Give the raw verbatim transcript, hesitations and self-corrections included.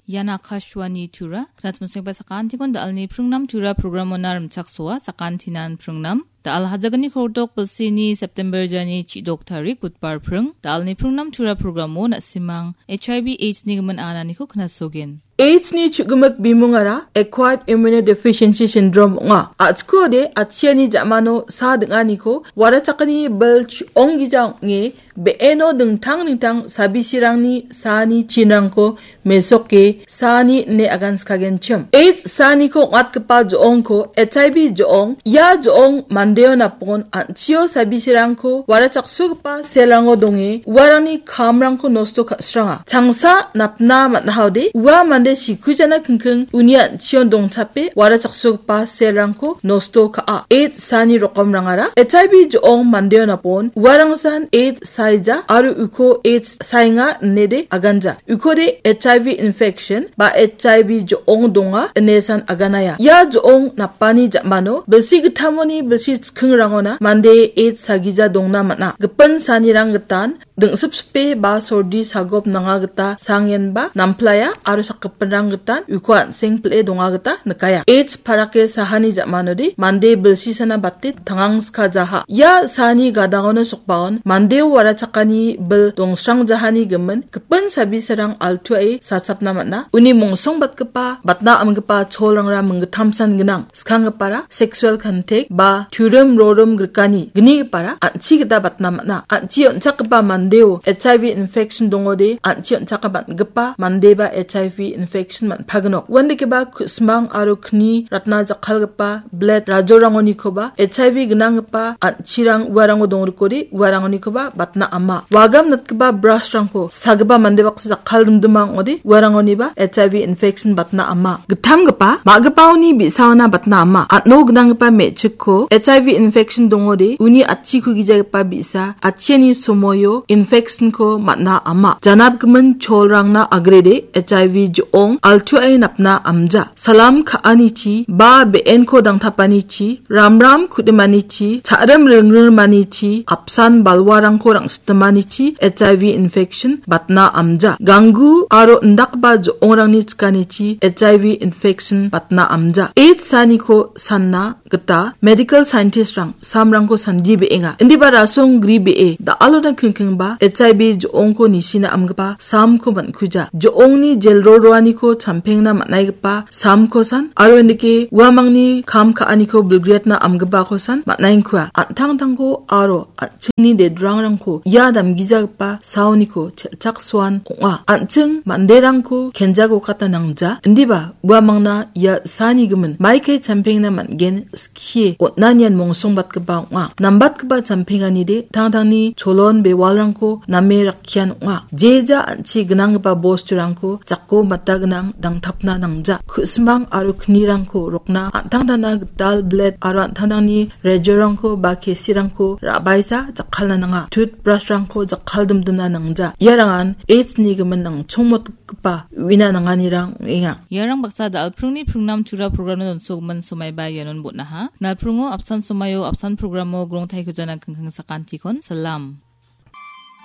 Ian Akashvani Tura, knatmosengba sakantikon da·alni pringnam Tura programona rimchaksoa, sakantinan pringnam. Da·al hajagni kordok bilsini September jani chidok tarik Budbar pring. Da·alni pringnam Tura programo na·simang H I V AIDS ni gimin ananiko knasogen. AIDS ni chugimik bimungara acquired immunodeficiency syndrome ong·a. A·chikode atchiani ja·mano sa ding·aniko warachakani bil ong·gija ong·e be·eno dingtang dingtang sabisirangni saani chinrangko mesoke saani ine aganskagenchim. AIDS saaniko ong·atgipa jo·ongko H I V jo·ong, ia jo·ong mandeo napon an·chio sabisirangko warachaksogipa selrango donge uarangni kamrangko nosto ka·sranga. Changsa napna man·ahaode ua mande sikujana kingking uni an·chion dongchape warachaksogipa selrangko nosto ka·a. AIDS saani rokomrangara H I V jo·ong mandeo napon uarangsan AIDS saija aro uko AIDS saenga inede aganja. Ukode H I V infection ba H I V jo·ong donga inesan aganaia. Ia jo·ong napani ja·mano bilsi gittamoni bilsi chikingrangona mande AIDS sagija dongna man·a. Gipin saanirang gitan dingsipsipe ba sordi sagop nanga gita sangenba namplaia aro sakgipinrang gitan uko an·seng pil·e donga gita nikaia. AIDS parake sahani ja·manode mande bilsisana bate tangangska jaha. Ia saani gadangona sokbaon mandeo warachakani bil dongsrang jahani gimin gipin sabisarang altuae sachapna man·a. Uni mongsongbatgipa batna amgipa cholrangra minggittamsan gnang. Skanggipara sexual contact ba turim rorim grikani gnigipara an·chi gita batna man·a. An·chi on·chakgipa mandeo H I V infection dongode an·chi on·chakgipa man·gipa mandeba H I V infection man·pagnok. Uandakeba ku·simang aro kni ratna jakkalgipa bled rajorangonikoba H I V gnanggipa an·chirang uarango dongrikode uarangonikoba batna ama. Wagam natgipa brush-rangko sagipa mande baksa jakkaldimdima ong·ode uarangoniba H I V infection batna ama. Gittamgipa ma·gipaoni bi·saona batna ama. An·o gnanggipa me·chikko H I V infection dongode uni atchiko gijagipa bi·sa atchiani somoio infection-ko man·a ama. Janapgimin cholrangna agrede H I V jo·ong altuae napna amja. Salam ka·anichi ba be·enko dangtapanichi, ramram ku·dimanichi, cha·rim ringrimanichi, apsan balwarangko rang·sitimanichi H I V infection batna amja. Ganggu aro indakgipa jo·ongrangni chikanichi H I V infection batna amja. AIDS saaniko sanna gita medical scientist-rang samrangko sandie be·enga. Indiba rasong gri be·e da·alona kingkingba H I V jo·ongko nisina amgipa samko man·kuja. Jo·ongni jelroroaniko champengna man·aigipa samko san aro indike uamangni kam ka·aniko bilgriatna amgipako san man·aengkua. An·tangtangko aro an·chingni dedrangrangko ia damgijagipa saoniko chelchaksoan ong·a. An·ching manderangko kenjagokatna nangja. Indiba uamangna ia saani gimin maikai champengna man·gen skie on·anian mongsongbatgipa ong·a. Nambatgipa champenganide tangtangni cholon bewalrangko name rakkian ong·a. Jeja an·chi gnanggipa bosturangko jako mata gnang dangtapna nangja. Ku·simang aro knirangko rokna an·tangtangna gital bled aro an·tangtangni rejorangko ba kesirangko ra·baisa jakkalna nanga. Toothbrush-rangko jakkaldimdimna nangja. Iarangan AIDS-ni gimin nangchongmotgipa uina nanganirang ong·enga. Iarang baksa da·alpringni pringnam Tura programno donsogimin somaiba ianon bon·aha. Nalpringo apsan somaio apsan programo grongtaiko jana kingking sakantikon salam.